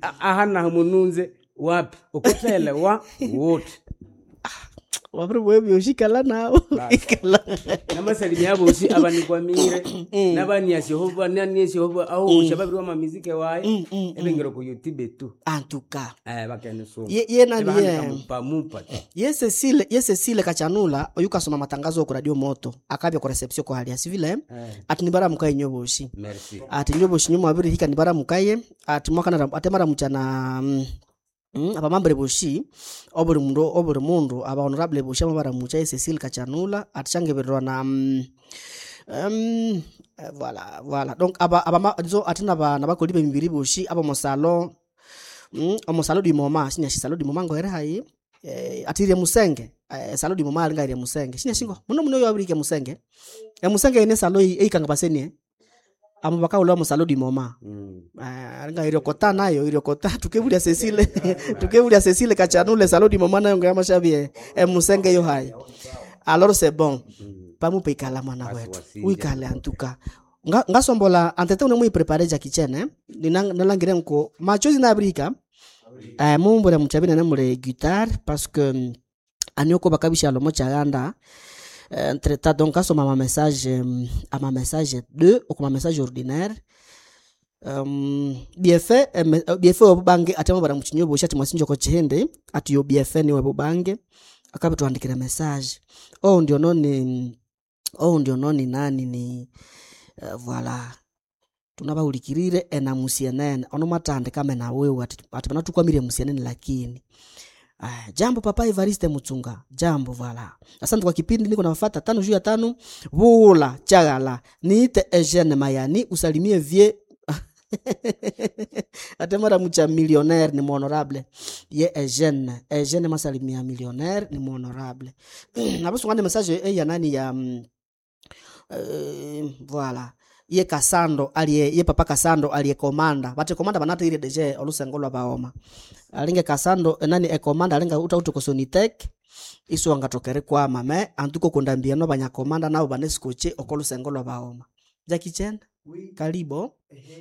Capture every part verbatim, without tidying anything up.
Aha naho mununze wapi ukuthelewa wuthi Wabiri byoshi ikala nawo. Ikala. Namasalimia abosi abanikwamire nabaniasyoho bananiasyoho ahosha babiri wama mizike waye ebengero ku YouTube tu. En tout cas. Eh bakenisoma. Ye ye nani Ebahandika ye. mupa mupa. Ye Cecile, ye Cecile Kachanula oyukasoma matangazo ku Radio Moto akabya ku reception ko halia sivile Eh. ati nibaramukaye nyoboshi. Merci. Ati nyoboshi nyuma abiri hika nibaramukaye ati mwakana ate maramuchana mm, mm, abamambere boshi obuli mundu obuli mundu aba honorable boshi amabaramucha ye Cecile Kachanula ati shangebererwa na mm, um, eh, voilà voilà donc aba aba zo ati naba nabakoli bemibiri boshi aba mosalo mm, omosalo di moma sinya salo di moma ngohere hayi eh, atirie musenge eh, salo di moma alinga irie musenge sinya singo muno muno yo abirike musenge e musenge ene salo eikanga basenie amo bakaula mosalo di moma. Mm. Ah, alinga iriokota nayo iriokota tukebulia Cecile tukebulia Cecile Kachanule salo di moma nayo ngamashabie e musenge yo hayi alors c'est bon Mm. pamupe ikala mwana Basi wetu wasinja. uikale antuka nga ngasombola antete une muiprepare Jackie Chan eh? Nina- nalangire nko machozi nabirika eh, mumbure muchabine nemule guitare parce que mm, anioko bakabisha lomo chaganda eh, entre temps donc asoma ama message mm, ama message deux okuma message ordinaire um, bienfait eh, me- eh, bienfait obubange ate bara muchinyo bosha ati mwasinjo ko chihende ati yo bienfait niwe bubange akabituandikira message oh ndio noni oh ndio noni nani ni uh, voilà tunabaulikirire ena musienene ono matandika mena wewe ati, ati panatukwamire musienene lakini Aya, jambo papa Evariste Mutsunga jambo voilà asante kwa kipindi niko nafuata tano juu ya tano vula chagala niite Eugene Mayani usalimie vie ate mara mucha millionnaire ni honorable ye Eugene Eugene masalimia millionnaire ni honorable nabasungane message eh, ya nani ya mm, eh, voilà ye Kasando aliye ye papa Kasando aliye komanda bate komanda banata ile deje olusengo lwa baoma alinge Kasando eh, nani e komanda alinga uta uto kosonitek iso angatokere kwa mame antuko kundambia no banyakomanda nabo banesikoche okolusengo lwa baoma Jackie Chan karibo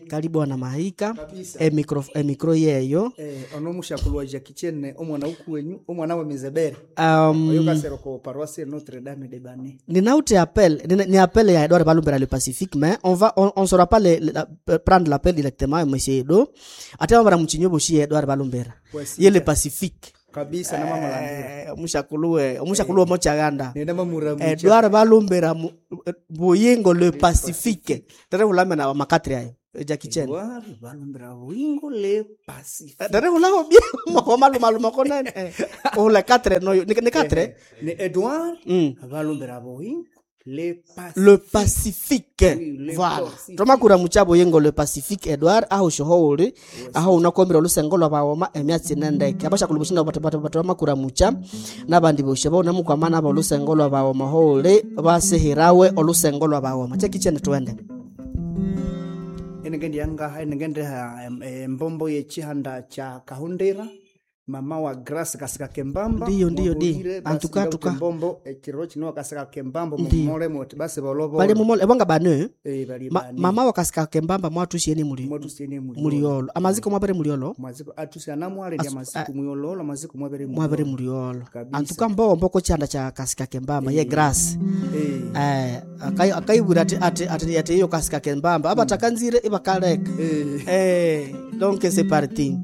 karibo na mahika Kabisa. e micro e micro yeyo Eh, ono mushakulwa Jackie Chan omwana ukuwenyu omwana wa mizebere um, oyo kasero ko paroisse Notre Dame de Bane ninauti appel ni, ni appel ya Edouard Balumbera le Pacifique mais on va on, on saura pas le, le, la, prendre l'appel directement monsieur Edo ate bara muchinyo boshi Edouard Balumbera Kwesi. ye le Pacifique kabisa na mama landira eh mushakuluwe mushakuluwe mochaganda nenda mamura mucha Edouard Balumbera mu- Buyingo le Pacifique tere hulame na makatri ayo Jackie Chan Edouard Balumbera wingo le Pacifique tere hulako bien malumaluma konene ula quatre no ni ni quatre ni Edouard Mm. Balumbera wingo le Pacifique le Pacifique Oui, le voilà Pacifique. tomakura muchabo yengo le Pacifique Edouard aho shohouli aho unakombera olusengo lwa baoma emyatsi nendeke abashakulu bushina batomakura mucha nabandi boshe bona mukwamana aba olusengo lwa baoma houli basihirawe olusengo lwa baoma chekichene twende enenge ndiyangaha enenge ndiha em, eh, mbombo yechihanda cha kahundira mama wa Grace kasika kembamba Ndiyo, ndiyo, ndi. Mwahulire, basi Antuka, ngauti tuka. mbombo ekiro kino kasika kembambo Ndiyo. mumole moti basi bolobo bali mumole ebonga bane eh bali ma, bane mama wakasika kembamba mwatusieni muli mwatusene muliolo muliolo amaziko mwabere muliolo maziko atusi anamwale ndi amaziko muyololo amaziko mwabere mwabere muliolo Kabisa. antuka mbombo ko chihanda cha kasika kembamba ye Grace eh eh akai- akaibwira ati ati ati ati iyo kasika kembamba abatakanzire ibakaleka eh eh donc c'est parti.